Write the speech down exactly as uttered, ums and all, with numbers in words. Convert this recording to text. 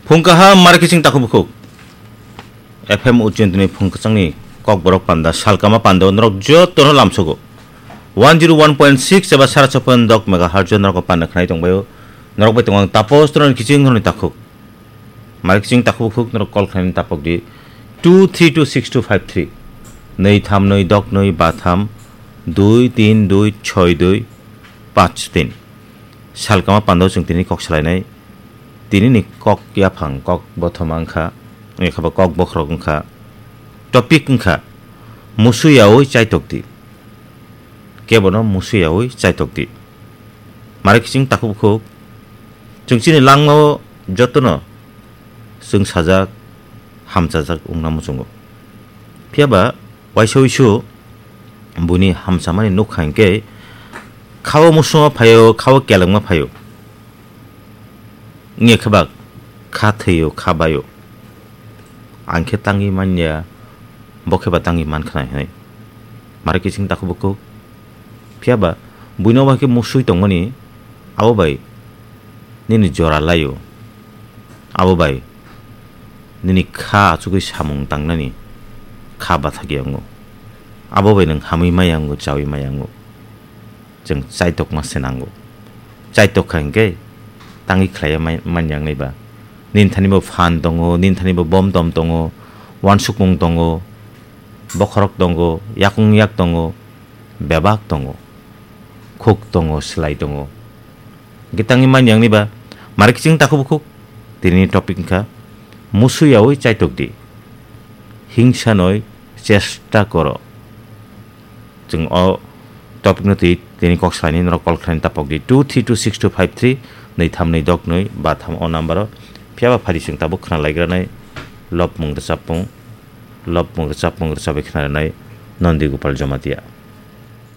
Phung kaham, mari kiching takhuk bukhuk. F M Ujjayantini phung kwchangni kokborok panda, salkama panda o norok jotono lamsogo. One zero one point six eba sara chopon dok megahertz o norok panda khnai tongbaio. Norok bai tongo ang Tapos Toron kiching horni takhuk. Mari kiching takhuk bukhuk norok call khlaini tapok di two three two six two five three. Nui tham nui dok nui ba tham dui tin dui choi dui panch tin. Salkama panda o chwng tini kok salainai. Tini ni kok yaphang, kok bothoma wngkha, wngkha ba kok bokhorok wngkha. Topic wngkha, musu yaui chaitok di. Kebono musu yaui chaitok di. Mari kiching takhuk bukhuk. Chwng chini langmao jotono chwng sajak, hamchajak wngna muchungo. Phiya ba waisa uisu buini hamchamani nukha hinkhe khao musungo phaio, khao kelengma phaio. Wngya khe ba kha thwio, kha baio. Ang khe tangwi manya, bo khe ba tangwi mankha nai hinwi. Mari kiching takhuk bukhuk. Phiya ba buino bai khe musui tongmani, abo bai nini jora laio. Abo bai nini kha achugwi samung tangnani kha bathakya wngo. Abo bai nwng hamwi maya wngo, chawi maya wngo. Chwng chaitokma se nango. Chaitok kha hinkhe tangwi khlaiya mai-, manya wngnai ba. Nini thani bo phan tongo, nini thani bo bom tom tongo, uansukmung tongo, bokhorok tongo, yakung yak tongo, bebak tongo, khuk tongo, slai tongo. Hinkhe tangwi manya wngnai ba, mari kiching takhuk bukhuk, tini topic wngkha, musu yaui chaitok di, hingsa noi chesta koro. Chwng o topic no twi tini kok salani norok call khlaini tapok di two three two six two five three, nui tham nui dok nui ba tham o number o. Phiya ba phari chwng tabuk khna laigranai lopmung rwchapmung, lopmung rwchapmung rwchabwi khna rwnai Nondi Gopal Jamatia.